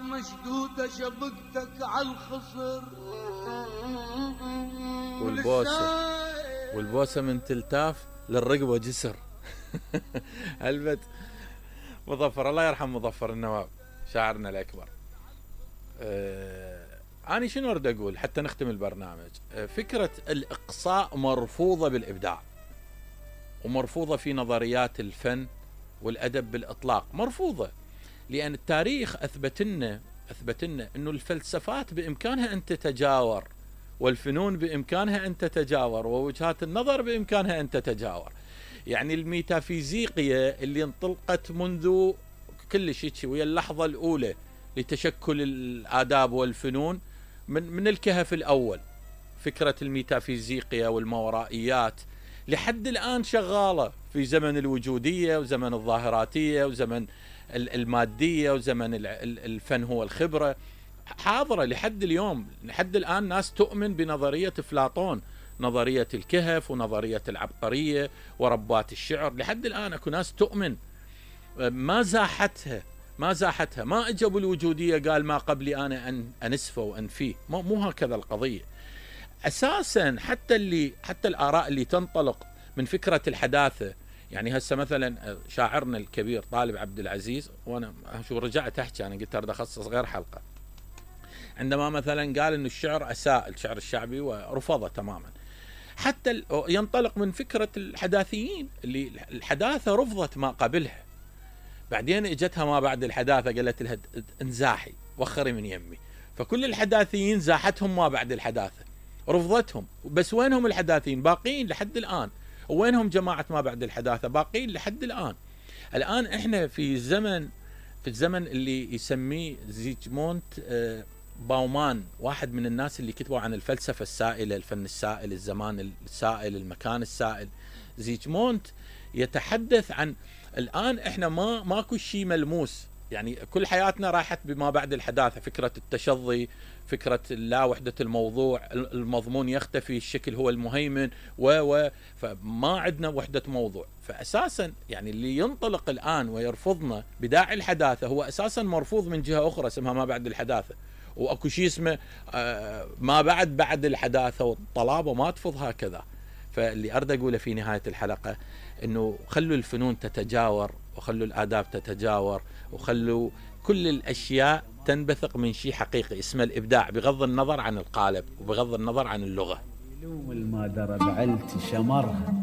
مشدودة شبكتك عالخصر والبوسة من تلتاف للرقبة جسر. هلبت مظفر، الله يرحم مظفر النواب شاعرنا الأكبر. أنا شنو أريد أقول حتى نختم البرنامج؟ فكرة الإقصاء مرفوضة بالإبداع، ومرفوضة في نظريات الفن والأدب بالإطلاق، مرفوضة، لأن التاريخ أثبت لنا أنه الفلسفات بإمكانها أن تتجاور، والفنون بإمكانها أن تتجاور، ووجهات النظر بإمكانها أن تتجاور. يعني الميتافيزيقية اللي انطلقت منذ كل شيء ويا اللحظة الأولى لتشكل الآداب والفنون من الكهف الأول، فكرة الميتافيزيقية والماورائيات لحد الآن شغالة في زمن الوجودية وزمن الظاهراتية وزمن المادية وزمن الفن هو الخبرة، حاضرة لحد اليوم. لحد الآن ناس تؤمن بنظرية أفلاطون، نظرية الكهف ونظرية العبقرية وربات الشعر، لحد الآن أكو ناس تؤمن، ما زاحتها، ما اجوا الوجودية قال ما قبلي أنا أنسفه وأنفيه، مو هكذا القضية أساسا. حتى الآراء اللي تنطلق من فكرة الحداثة، يعني هسه مثلا شاعرنا الكبير طالب عبد العزيز، وانا شو رجعت احكي، انا قلت اريد اخصص غير حلقة، عندما مثلا قال انه الشعر اساء، الشعر الشعبي، ورفضه تماما. حتى ينطلق من فكرة الحداثيين اللي الحداثة رفضت ما قبلها، بعدين اجتها ما بعد الحداثة قالت لها انزاحي وخري من يمي، فكل الحداثيين زاحتهم ما بعد الحداثة، رفضتهم. بس وينهم الحداثيين؟ باقين لحد الآن. وينهم جماعة ما بعد الحداثة؟ باقين لحد الآن. الآن احنا في الزمن اللي يسميه زيجموند باومان، واحد من الناس اللي كتبوا عن الفلسفة السائلة، الفن السائل، الزمان السائل، المكان السائل. زيجموند يتحدث عن الآن احنا ماكو شيء ملموس، يعني كل حياتنا راحت بما بعد الحداثة، فكرة التشظي، فكرة لا وحدة الموضوع، المضمون يختفي، الشكل هو المهيمن، فما عندنا وحدة موضوع. فأساسا يعني اللي ينطلق الآن ويرفضنا بداعي الحداثة هو أساسا مرفوض من جهة أخرى اسمها ما بعد الحداثة، وأكو شيء اسمه ما بعد الحداثة، والطلابة ما تفض هكذا. فاللي أريد أقوله في نهاية الحلقة إنه خلوا الفنون تتجاور، وخلوا الآداب تتجاور، وخلوا كل الأشياء تنبثق من شيء حقيقي اسمه الإبداع، بغض النظر عن القالب وبغض النظر عن اللغة. المادرة بعلت شمرها